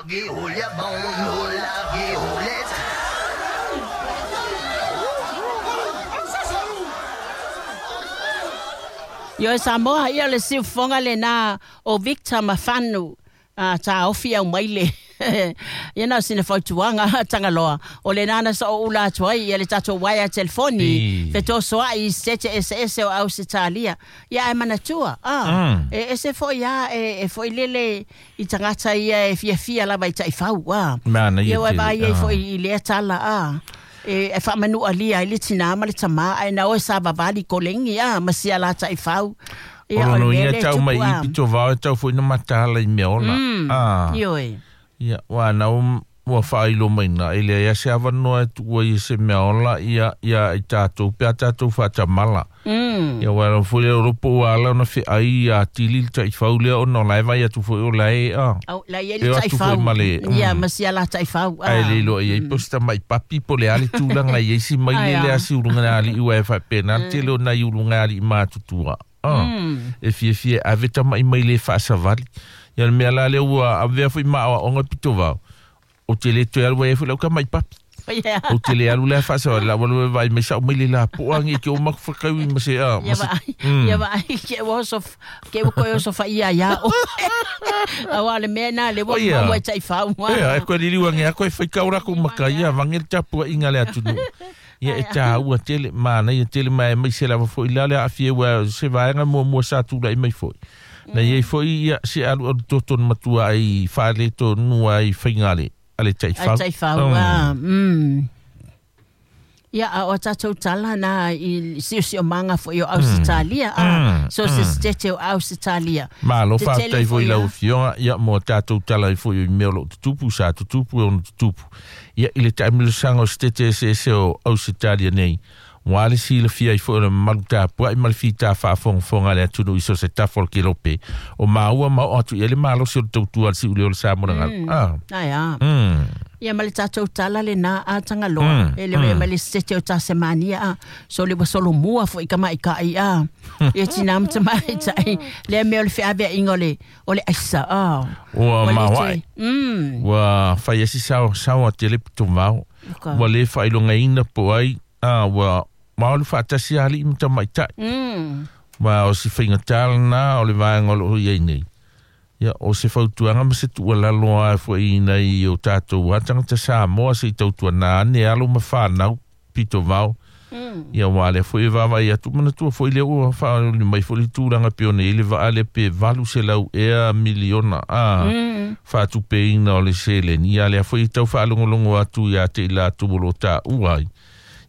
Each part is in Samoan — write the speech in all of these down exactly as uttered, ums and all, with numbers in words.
Ioe Samoa ia le siufofoga lena o Victor Mafanu a taofi au mai le ia na o sina fautuaga Tagaloa o lena na so'oula atu ai ia le tatou uaea telefoni fetosoa'i i sitete eseese o Ausetalia ia ae manatua a e ese fo'i a e fo'i lele i tagata ia e fiafia lava i ta'ifau a ia ua vaai ai fo'i i lea tala a e faamanu'alia ai le tinā ma le tamā ae na oe savavali kolegi a ma sia la ta'ifau ia o le mea lea e tupu a. O lono ia tau mai i pitovao e tau fo'i na mataala i mea ola a. Ioe. Ia ua na ua faailo maina e leai se avanoa e tuua i se mea ola ia ia i tatou pe a tatou faatamala. Ia ua lava foi lea o lo po ua ala ona fe'ai ia atili le ta'ifau lea ona o la e vaai atu foi o la e a. Au la i ai le ta'ifau ia ma sia la ta'ifau a. Ae le iloa i ai po o se tama'i papi po o le a le tulaga i ai si maile lea si uluga ali'i ua e faapena le tele o nai uluga ali'i matutua a. E fiafia e ave tama'i mai le faasavali. Ia le mea la lea ua avea foi ma aoaoga pitovao o te le toe alu ai foi lau tama'i papi. O te le alu lea faasavali la ua alu e vaai mai sa'u mai le lapo'a agi e ke o makufakaui ma se a. Ia vaai ia vaai ke ua oso ke ua koe oso fa'ia iā oe auā o le mea lena le ua maua e ta'ifau Ea e koe liliu age a koe faikau lakou maka ia vage le tapua'iga a le atunu'u. Ia e tāua tele manaia tele ma e maise lava fo'i la le aafia ua se vaega muamua sa tula'i mai fo'i. Na iai fo'i ia se alualu toto na matua ai faaletonu ai faiga a le a le ta'ifau. A ta'ifau a mm. Ia a o tatou tala na i siosiomaga fo'i o Ausetalia a so se sitete o Ausetalia. Malo faafetai foi i lau afioga ia mo tatou tala ai foi i mea o lo'o tutupu sa tutupu e ono tutupu. Ia i le taamilosaga o sitete eseese o Ausetalia nei ua le silafia ai foi o le mamalu tapua'i ma le fitā faafogafoga a le atunuu i so o se tafa o le kelope o maua ma oo atu i ai le malosi o le tautua a le si'uleo o le Samoa le galu a. Ae a. Ia ma le tatou tala lena a Tagaloa e le ma le sitete o Tasemania a so le ua solomua fo'i tamaita'i a ia tinā ma tamaita'i lea mea o le feavea'iga o le o le aisa a. Ua maoa'i ua fai ai si sao sao a tele pitovao ua lē faailogaina po o ai a ua maolu faatasi ali'i ma tamaita'i ma o si faigatā lenā o le vaega o lo'o i ai nei. Ia o se fautuaga ma se tu'ualalo a fo'i inai o tatou a tagata Samoa se'i tautuanā ane alo ma fanau pitovao. Ia ua lea foi e vaavaai atu manatua foi lea ua faaoli mai foi le tulaga pe ona i ai le vaa lea pe valu selau ea miliona a faatupeina o le seleni. Ia lea foi e tau faalogologo atu iā te i latou o lo'o tā'ua ai.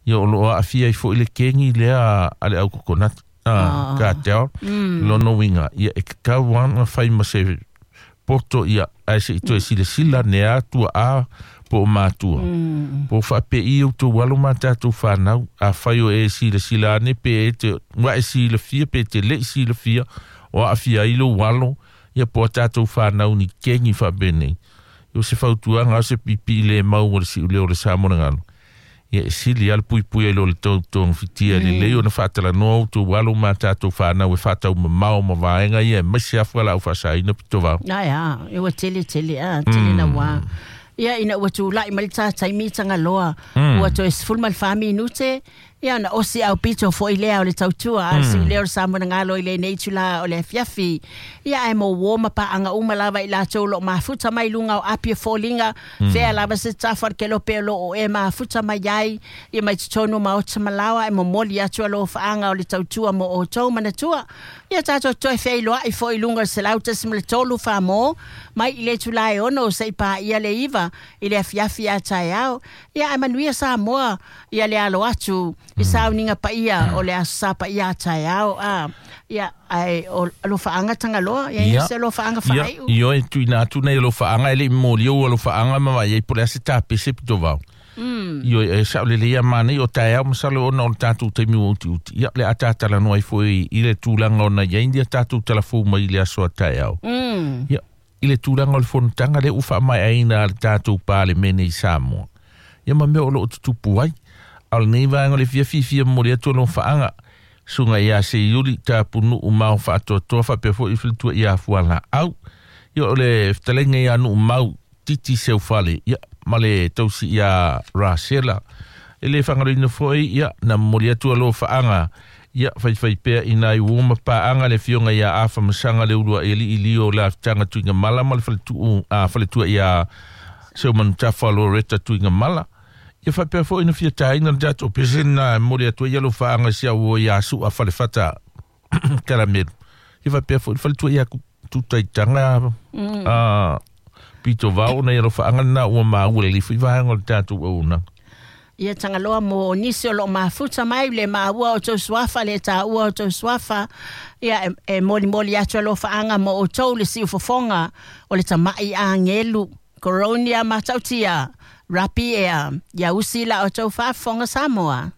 Ia o lo'o aafia ai foi le kegi lea a le au kokonati. A cartel lona uiga ia e tatau lava ona fai ma se poto ia ae se'i toe silasila ane a tua'a po o matua po o faape'i outou alo ma tatou fanau afai o e silasila ane pe e te ua e silafia pe te le'i silafia o aafia ai lou alo ia po o a tatou fanau ni kegi faapenei. O se fautuaga o se pipi'i lē mau o le si'uleo o le Samoa le galu. Ia e sili lava le puipui ai lo le togafitiga lelei ona faatalanoa outou alo ma tatou fanau e faataumamao ma vaega ia aemaise afu a laau faasaina pitovao. Ae a, e ua tele tele a, tele nauā. Ia ina ua tula'i mai le tā taimi Tagaloa, ua toe sefulu ma le fa minute, ia ona osi aupito fo'i lea o le tautua a le si'uleo o le Samoa na galo i lenei itulā o le afiafi. Ia ae mo uō ma paaga uma lava i latou o lo'o mafuta mai luga o api o foliga, fea lava se tafa o le kelope o lo'o e mafuta mai ai, ia mai totonu o maota ma laoa ae momoli atu alofaaga o le tautua mo outou manatua. Ia tatou toe feiloa'i fo'i i luga o le selau tasi ma le tolu faa-mō mai i le itulā e ono se'i paia le iva i le afiafi a taeao. Ia ae manuia Samoa ia le alo atu i sauniga paia o le Aso Sa paia a taeao a. Ia ae o alofaaga Tagaloa ia Ia. se alofaaga Ia, faai'u. ioe tuuina atu nei alofaaga e le'i momoli ou alofaaga ma vaai ai po o le a se tapese pitovao. Ioe e sa'olelei ia manai o taeao masalo ona o le tatou taimi ua utiuti. Ia o le a tatalanoa ai foi i le tulaga ona i ai ia tatou talafou mai i le aso a taeao. Ia i le tulaga o le fonotaga lea ua faamaeaina a le tatou Palemene i Samoa. Ia ma mea o lo'o tutupu ai. A o lenei vaega o le fiafia momoli atu alofaaga susuga iā Seiuli Tapunu'u ma o faatoatoa faapea foi i faletua iā Fualaau. Ia o le fetalaiga iā Nu'umau Titi Seufale ia ma le tausi ia Rasela e le whangaloina foi ia na moli atu alofa ia fai fai pea ina i uoma paanga le fionga ia afa masanga le ulua eli ilio la tanga tuinga mala ma le faletu a faletua ia seu manutafa Loretta tuinga mala ia fai pea foi na fia taina le tatou pese na moli atu ia alofa sia ua ia su a falefata karamelu ia fai pea foi faletua ia tutaitanga a pito vao na ia alofa na ua maua le lifu i vaega o le tatou auaunaga. Ia Tagaloa mo nisi o loo mafuta mai le maua o tou suafa le taua o tou suafa ia e, e molimoli atu alofaaga mo outou le siufofoga o le tama'i agelu Coronia matautia rapi ea ia usi la o tou faafofoga Samoa.